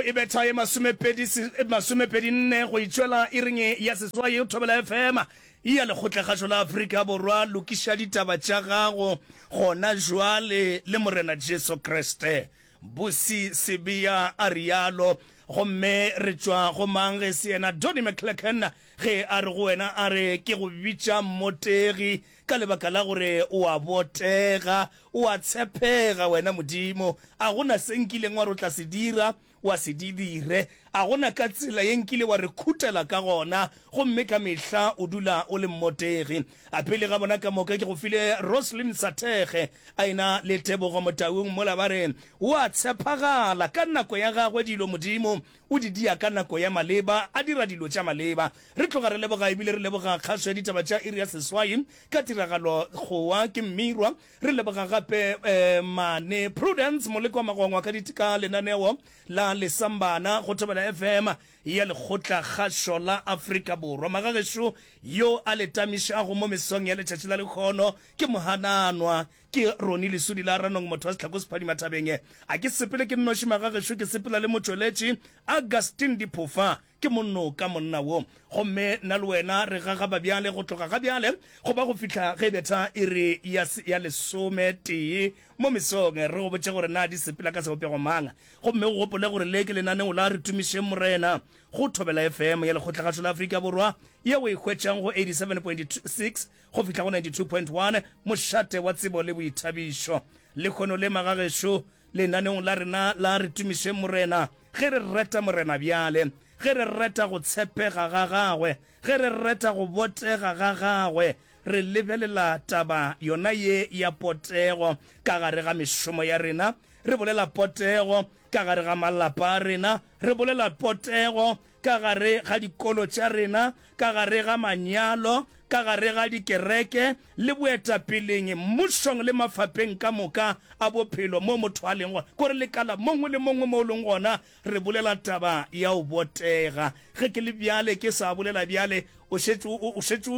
e betha ye 24 go itšwela iring ya seswai Thobela FM ya Lekgotlakgašo la Afrika Borwa. Lokiša ditaba tša gago gona jwale le Morena Jesu Kriste. Busi Sibiya a realo. Gomme re tšwa go mang ge se yena Donny McClurkin ge a re go wena a re ke go bitša mmotegi ka lebaka la gore o a botega, o a tshepega wena Modimo. A go na se nkileng wa re o tla se dira wa se di dire, a go na ka tsela ye nkile wa re khutela ka gona, gomme ka mehla o dula o le mmotegi. A pele ga bona ka moka ke go file Roslyn Sathege a ena le Tebogo Motaung mola ba re o a tshephagala ka nako ya gagwe dilo Modimo o di dia ka nako ya maleba a dira dilo tša maleba. Re tloga re leboga ebile re leboga kgašo ya ditaba tša iri ya seswai ka tiragalo Kgowa ke Mmirwa. Re leboga gape Mane Prudence Moleko wa Magwangwa ka ka lenaneo la Lesambana go Thobela FM ya Lekgotla Kgašo la Afrika Borwa. Magagešo yo a le tamišago mo mesong ya letšatši la lekhono ke Mohananwa ke Ronnie Lesudi la Ranong motho wa Sehlako Sephadima Thabeng. A ke sepele ke nnoši magagešo ke sepela le motšweletši Augustine Diphofa Ke monnoka monna wo. Gomme nna le wena re gagaba bjale, go tloga ga bjale go ba go fihla ge betha iri ya, ya lesometee mo mesong, re go botše gore na di sepela ka sebopego mang. Gomme o gopole gore le ke lenaneo la Re Tumišeng Morena go Thobela FM ya Lekgotlagašo la Afrika Borwa, ye o e hwetšang go 87.6 go fihla go 92.1, mošate wa tsebo le boithabišo. Lehono le, magagešo, Lenaneong la rena la Re Tumišeng Morena, ge re reta Morena bjale, ge re reta go tshepega ga gagwe, ge re reta go botega ga gagwe, re lebelela taba yona ye ya potego ka gare ga mešomo ya rena, re bolela potego ka gare ga malapa a rena, re bolela potego ka gare ga dikolo tša rena, ka gare ga manyalo, ka gare ga dikereke le boetapeleng, mmušong le mafapeng ka moka a bophelo mo motho a leng gona. Kore lekala mongwe le mongwe mo o leng gona, re bolela taba ya go botega. Ge ke le bjale, ke sa bolela bjale, o šetše o šetše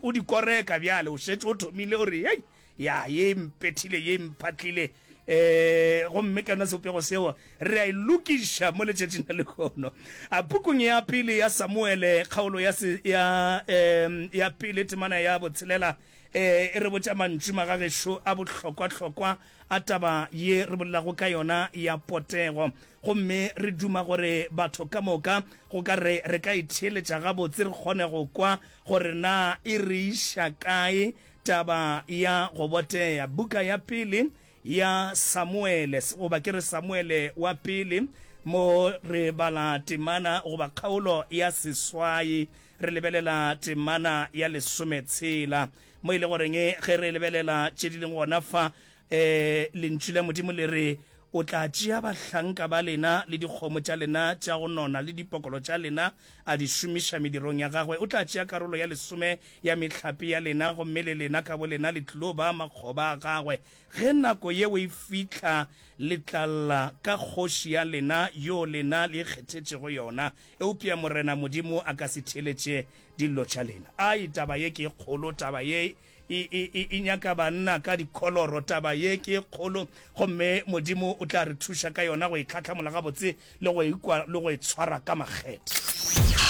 o di koreka bjale, o šetše o thomile o re, hei, Ya, ye e mpethile, ye e mphatlile. E, gomme ka yona sebopego seo, re a e lokiša mo letšatšing la lehono. A pukung ya pele ya Samuele, kgaolo ya, se, ya, e, ya pele, temana ya botshelela, e, e re botša mantšu magagešo a bohlokwahlokwa a taba ye re bolelago ka yona ya potego. Gomme re duma gore batho ka moka go ka re re ka itheeletša gabotse, re kgone go kwa gore na e re iša kae Taba ya go botea. Buka ya pele ya Samuele, goba ke re Samuele wa pele, mo re bala temana goba kgaolo ya seswai, re lebelela temana ya lesometshela, mo e le goreng ge re lebelela tše di leng gona fa, um Lentšu la Modimo le re, O tla tšea bahlanka ba lena le dikgomo tša lena tša go nona le dipokolo tša lena a di šomiša medirong ya gagwe. O tla tšea karolo ya lesome ya mehlape ya lena, gomme le lena ka bolena le tlilo ba makgoba a gagwe. Ge nako yeo e fihla, le tla lla ka kgoši ya lena yo lena le ikgethetšego yona, eupša Morena Modimo a ka se theeletše dillo tša lena. Ai, taba ye ke e kgolo, taba ye E, e, e, e nyaka banna ka dikholoro. Taba ye ke e kgolo, gomme Modimo o tla re thuša ka yona go e hlahlamola gabotse le go e kwa le go e tshwara ka makgethe.